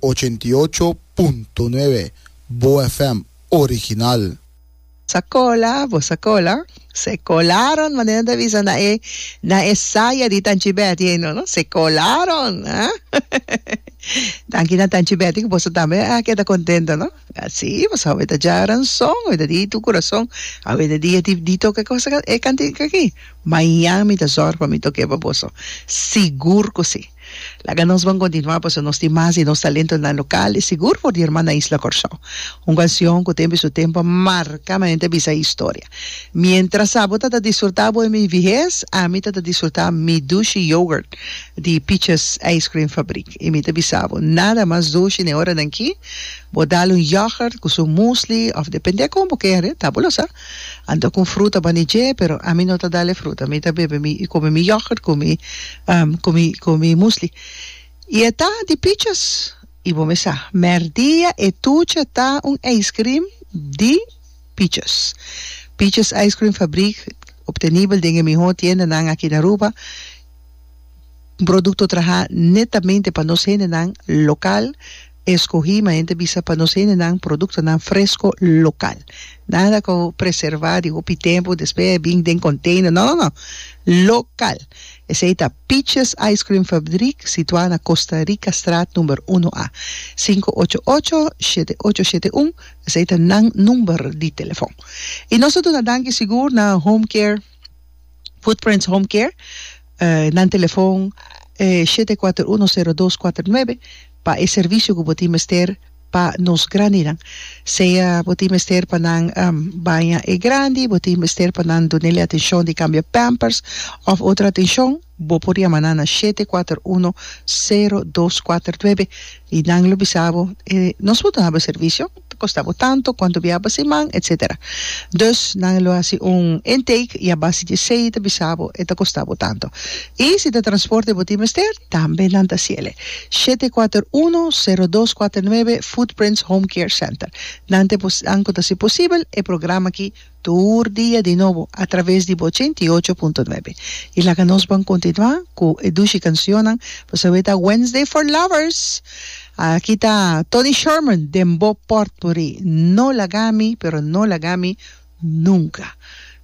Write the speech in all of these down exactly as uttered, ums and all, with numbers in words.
Ochenta i ocho punto nuebe Bo F M original. Sa cola, bo sa cola. Se colaron, manera ta bisa na e na e saya di Tanchi Betty, no, no? Se colaron, eh? Danki na Tanchi Betty, ku boso tambe a keda contento, no? Así, boso awe ta djaranson, awe ta di tu corazón, awe ta dia di, di toka cosa e cantica aki. Mañan mi ta zorg pa mi toke pa boso. Sigur ku si. Laga nos ban continua, paso nos tin mas di nos talentonan local y sigur for di hermana isla Kòrsou. Un canción ku tempo y su tempo a marca manera bisa historia. Mientras abo ta ta disfruta bo mi vihes, ami ta ta disfruta mi dushi yogurt di Peaches Ice Cream Fabriek. Y mi ta bisa bo, nada mas dushi ne ora aki. Bo dal un yoghurt ku su muesli of depende kon bo kere, ta bo lo sa. Anto ku fruta banije, pero ami no ta dale fruta. Mi ta bebe mi come mi yoghurt ku mi um, ku mi ku mi muesli. Y ta di Peaches. Y bo sa, merdia e tucha ta un ice cream di Peaches. Peaches Ice Cream Fabriek, obtenibel den e mihó tiendanan aki na Aruba. Un produkto traha netamente pa nos hendenan lokal, eskohí, ma hende bisa pa nos hendenan produktonan fresco lokal. Nada ku preservá di hopi tempu, despues bin den container. No, no, no. Lokal. Esei ta Peaches Ice Cream Fabriek, situá na Costa Rica Straat number un A. sinku ocho ocho, shete ocho shete un, esei ta nan number di telefòn. I nos ta danki sigur na Home Care, Footprints Home Care, eh, nan telefòn eh, shete kuater un, sero dos kuater nuebe pa e servisio ku bo tin mester pa nos grandinan. Sea bo tin mester pa nan um, baña e grandi, bo tin mester pa nan dunele atenshon di kambia pampers òf otro atenshon, bo por yama nan na shete kuater un, sero dos kuater nuebe i nan lo bisa bo, eh, nos por duna servisio, kosta bo tantu, kuantu bia pa siman, et cetera. Dus nan lo hasi un intake i a base di esei ta bisa bo, e ta kosta bo tantu. I si ta transporte bo tin mester, tambe nan ta hasiele. shete kuater un, sero dos kuater nuebe, Footprints Home Care Center. Nan ta anko ta hasi posibel e programa aki tur dia di nobo a traves di ochenta i ocho punto nuebe. I laga nos ban kontinuá ku e dushi kanshonnan, pasobra ta Wednesday for Lovers. Aki ta Tony Sherman, den bo Potpourri. No lagami, pero no lagami nunka.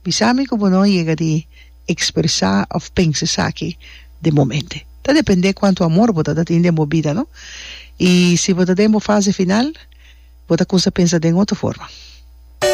Bisami ku no yega di ekspresá òf pensa esaki di momento. Ta dependé kuantu amor bo ta tin den bo bida, no? I si bo ta den fase final, bo ta kuminsá pensa di otro forma.